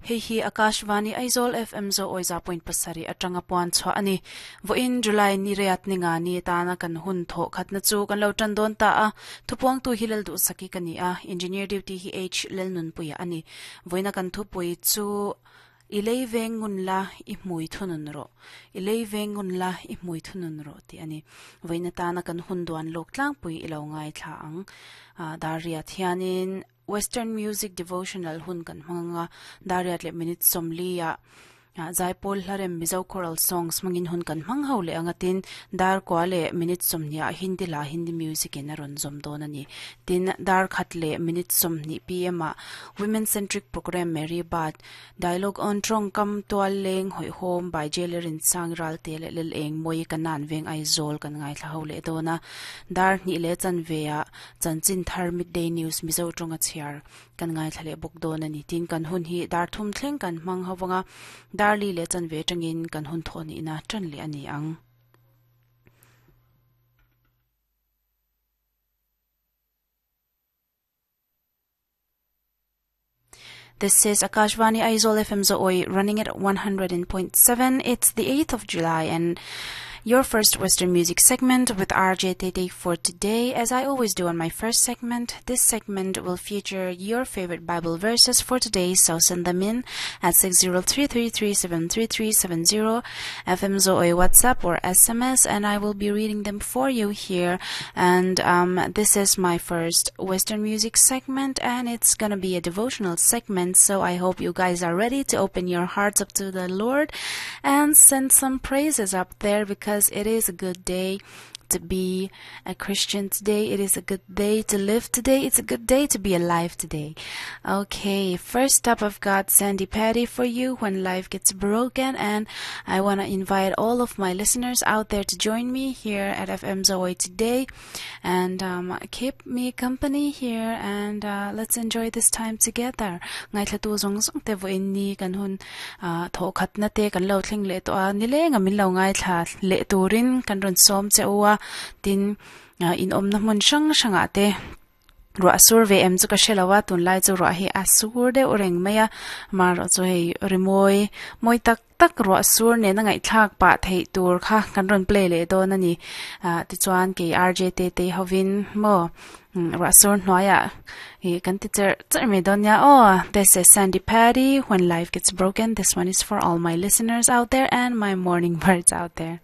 Hei hi Akashvani Aizawl FM Zo Awiza point pasarih atanga puan chhuah a ni. Vawiin July ni riat ni nga ni atana kan hun thawh khatna chu kan lo tan dawn ta a. Thupuangtu hi Lalduhsaki ka ni a, Engineer duty hi H Lalnunpuia a ni. Vawiina kan thupui chu I lei veng ngun la, i hmui thunun rawh. I lei veng ngun la, i hmui thunun rawh tih a ni. Vawiin atana kan hun duan lawk tlangpui i lo ngaithla ang. Dar riat hianin Western Music Devotional hun kan hmang anga dar riat leh minute 40 ah Zaipawl Hlarem Mizo Choral Songs hmangin hun kan hmang ho leh anga tin dar kua leh minute 20 ah Hindi hla Hindi Music in a rawn zawm dawn a ni. Tin dar khat leh minute 20 pm ah Women Centric Programme Mary Baat Dialogue on Tawngkam Tual Leng Hawihhawm by Jailerin Sang Ralte leh Lel Eng Mawi Kanan Veng Aizawl kan ngaithla ho leh dawn a. Dar hnih leh chanve ah Chanchin Thar Midday News Mizo tawnga chhiar kan ngaithla leh bawk dawn a ni. Tin kan hun hi dar thum thleng kan hmang ho vang a, dar li leh chanve atangin kan hun thawh nihna tan leh a ni ang. This is Akashvani Aizawl FM Zooi running at 100.7. It's the 8th of July and your first Western music segment with RJ Tete for today. As I always do on my first segment, this segment will feature your favorite Bible verses for today, so send them in at 60333733370 FM Zoe WhatsApp or SMS, and I will be reading them for you here. And um, this is my first Western music segment, and it's gonna be a devotional segment. So I hope you guys are ready to open your hearts up to the Lord and send some praises up there because it is a good day to be a Christian today. It is a good day to live today. It's a good day to be alive today. Okay, first up, I've got Sandy Patty for you when life gets broken, and I want to invite all of my listeners out there to join me here at FM Zoe today and um, keep me company here and uh, let's enjoy this time together. Ngaithla tu zong zong te vo in ni kan hun tho khat na te kan lo thleng leh tawh a nilenga min lo ngaithla leh turin kan rawn sawm che u a tin in awmna hmun hrang hrangah te ruah sur ve em chu ka hre lo a tunlai chu ruah hi a sur deuh reng mai a amaherawh chu hei rimawi mawi tak tak ruah sur nena ngaihthlak pah theih tur kha kan rawn play leh dawn a ni ah tichuan kei R J te te hovin maw ruah sur hnuaiah ih kan ti cherh cherh mai dawn nia aw this is Sandy Patty when life gets broken this one is for all my listeners out there and my morning birds out there.